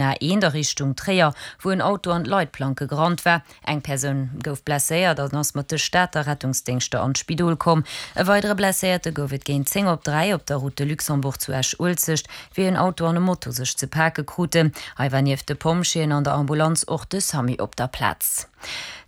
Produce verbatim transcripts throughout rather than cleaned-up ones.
A eent a Richtung Tréier, wou en Auto an d'Leitplanke gerannt war. Eng Persoun gouf blesséiert an ass mat de Stater Rettungsdéngschter an d'Spidol komm. E weidere Blesséierte gouf et géint zéng op dräi op der Route de Luxembourg zu Esch-Uelzecht, wéi en Auto an e Moto sech ze pake kruten. Hei war nieft de Pompjeeën an der Ambulanz och de Samu op der Plaz.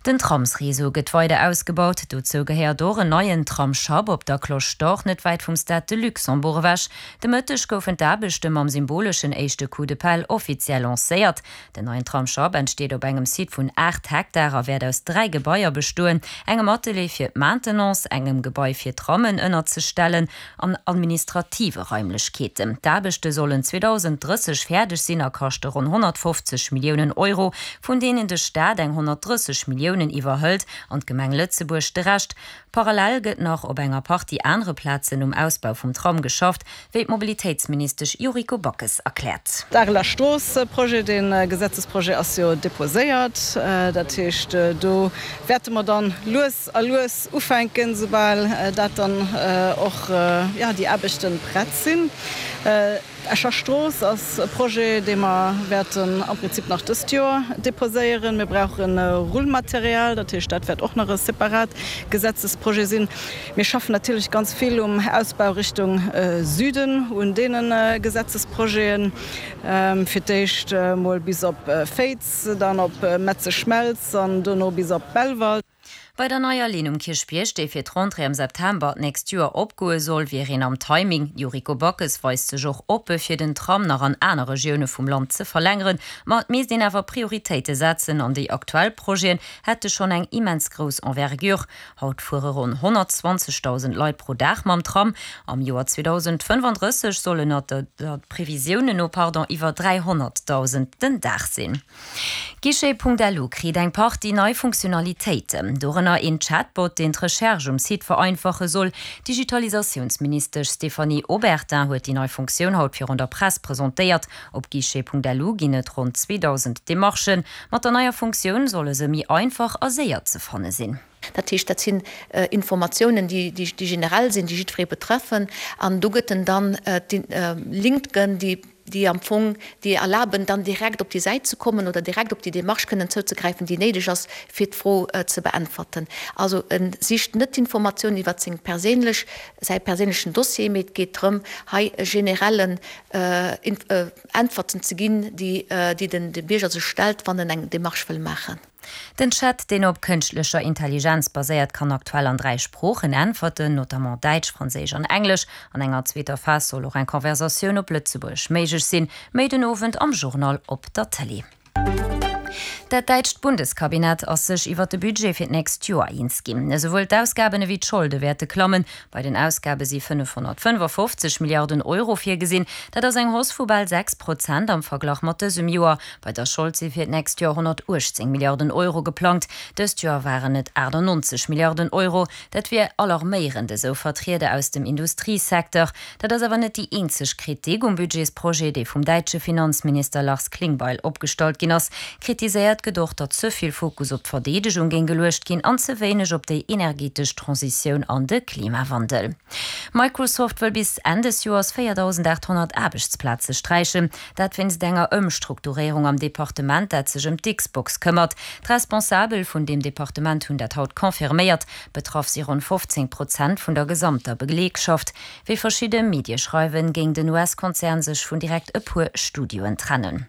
Den Tramsreseau gëtt weider ausgebaut. Dozou gehéiert och en neien Tramsschapp op der Cloche d'Or, net wäit vum Stade de Luxembourg ewech. De Mëtteg goufen d'Aarbechte mam symboleschen éischte Coup de pelle offiziell lancéiert. Den neien Tramsschapp entsteet op engem Site vun aacht Hektar a wäert aus dräi Gebaier bestoen, engem Atelier fir d'Maintenance, engem Gebai fir Trammen ënnerzestellen an administrative Raimlechkeeten. D'Aarbechte sollen zweedausenddrësseg fäerdeg sinn a kaschte ronn honnertfofzeg Milliounen Euro, vun deenen de Staat eng honnertdrësseg Milliounen iwwerhëlt an d'Gemeng Lëtzebuerg de Rescht. Parallel gëtt nach op enger Partie anere Plazen um Ausbau vum Tram geschafft, wéi d'Mobilitéitsministesch Yuriko Backes erkläert. D'Areler Strooss-Projet, dee Gesetzesprojet ass jo deposéiert. Dat heescht, do wäerte mer dann lues a lues ufänken, soubal dat dann och, jo, déi Aarbechte prett sinn. D'Escher Strooss ass e Projet, dee mer wäerten am Prinzip nach dëst Joer deposéieren. Mir brauche Rullmaterial, dat heescht, dat wäert och nach e separat Gesetzesprojet sinn. Mir schaffen natierlech ganz vill um Ausbau Richtung Süden, un deene Gesetzesprojeten, fir d'éischt emol bis op Féiz, dann op Metzeschmelz an dono bis op Belval. Bei der neier Linn um Kierchbierg, déi fir d'Rentrée am September d'nächst Joer opgoe soll, wier een am Timing. D'Yuriko Backes weist sech och oppe fir den Tram nach an aner Regioune vum Land ze verlängeren, ma et misst een awer Prioritéite setzen an déi aktuell Projeten hätte schonn eng immens grouss Envergure. Haut fuere ronn honnertzwanzegdausend Leit pro Dag mam Tram. Am Joer zweedausendfënnefandrësseg sollen et der Previsiounen no pardon iwwer dräihonnertdausend den Dag sinn. Guichet.lu kritt eng Partie nei Funktionalitéiten, dorënner een Chatbot, deen d'Recherche um Site vereinfache soll. D'Digitalisatiounsministesch Stéphanie Obertin huet déi nei Funktioun haut virun der Press presentéiert. Op Guichet.lu ginn et ronn zweedausend Demarchen. Mat der neier Funktioun solle se méi einfach a séier ze fanne sinn. Dat heescht, dat sinn Informatiounen, déi generell sinn, déi jiddweree betreffen. An do gëtt en dann Linken, déi déi am Fong déi erlaben, dann direkt op déi Säit ze kommen oder direkt op déi Démarche kënnen zouzegräifen, déi néideg ass, fir d'Fro ze beäntwerten. Also e sicht net d'Informatioun iwwer seng perséinlech, säi perséinlechen Dossier, mee et geet drëm, hei e generellen Äntwerten ze ginn, déi déi den Bierger sech stellt, wann en eng Démarche wëll maachen. Den Chat, deen op kënschtlecher Intelligenz baséiert, kann aktuell an dräi Sproochen äntwerten, notamment Däitsch, Franséisch an Englesch. An enger zweeter Phas soll och eng Conversatioun op Lëtzebuergesch méiglech sinn. Méi den Owend am Journal op der Tëlee. Dat däitscht Bundeskabinett ass sech iwwer de Budget fir d'nächst Joer eens ginn. Esouwuel d'Ausgaben ewéi d'Scholde wäerte klammen. Bei den Ausgabe si fënnefhonnertfënnefafofzeg Milliarden Euro virgesinn. Dat ass eng Hausse vu bal sechs Prozent am Verglach mat dësem Joer. Bei der Schold si fir d'nächst Joer honnertuechtzéng Milliarden Euro geplangt. Dëst Joer waren et aachtannonzeg Milliarden Euro. Dat wier alarméierend, esou Vertrieder aus dem Industriesecteur. Dat ass awer net déi eenzeg Kritik um Budgetsprojet, dee vum däitsche Finanzminister Lars Klingbeil opgestallt ginn ass. Kritiséiert gëtt och, datt ze vill Fokus op d'Verdeedegung géing geluecht ginn an ze wéineg op déi energetesch Transitioun an de Klimawandel. Microsoft wëll bis Enn des Joers véierdausendaathonnert Aarbechtsplaze sträichen. Dat wéinst enger Ëmstrukturéierung am Departement, dat sech ëm d'Xbox këmmert. D'Responsabel vun deem Departement hunn dat haut confirméiert. Betraff si ronn fofzéng Prozent vun der gesamter Belegschaft. Wéi verschidde Medie schreiwen, géing den U S-Konzern sech vun direkt e puer Studioen trennen.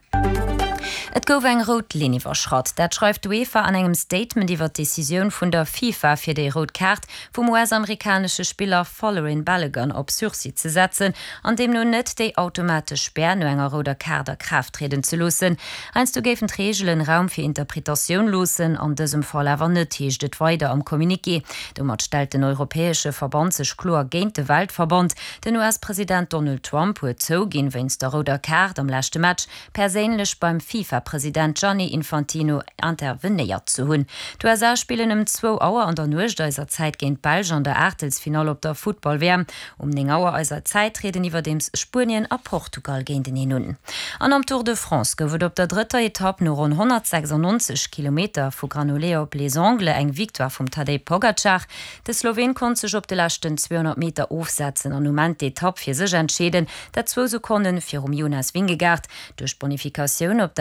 Et gouf eng rout Linn iwwerschratt. Dat schreift d'UEFA an engem Statement iwwer d'Decisioun vun der FIFA fir déi rout Kaart vum U S-amerikanesche Spiller Folarin Balogun op Sursis ze setzen an deemno net déi automatesch Spär no enger rouder Kaart a Kraaft trieden ze loossen. Heiansdo géifen d'Reegelen Raum fir Interpretatioun loossen, an dësem Fall awer net, heescht et weider am Communiqué. Domat stellt den europäesche Verband sech kloer géint de Weltverband. Den U S-President Donald Trump huet zouginn, wéinst der rouder Kaart am leschte Match perséinlech beim FIFA-President Gianni Infantino intervenéiert ze hunn. D'U S A spillen ëm zwou Auer an der Nuecht eiser Zäit géint d'Belsch an der Aachtelsfinall op der Futtball-W M. Um néng Auer eiser Zäit trieden iwwerdeems Spuenien a Portugal géinteneen un. An am Tour de France gouf et op der drëtter Etapp no ronn honnertsechsannonzeg Kilometer vu Granollers op Les Angles eng Victoire vum Tadej Pogacar. De Sloween konnt sech op de leschten zweehonnert Meter ofsetzen an um Enn d'Etapp fir sech entscheeden, dat zwou Sekonne virum Jonas Vingegaard. Duerch d'Bonifikatioun op der.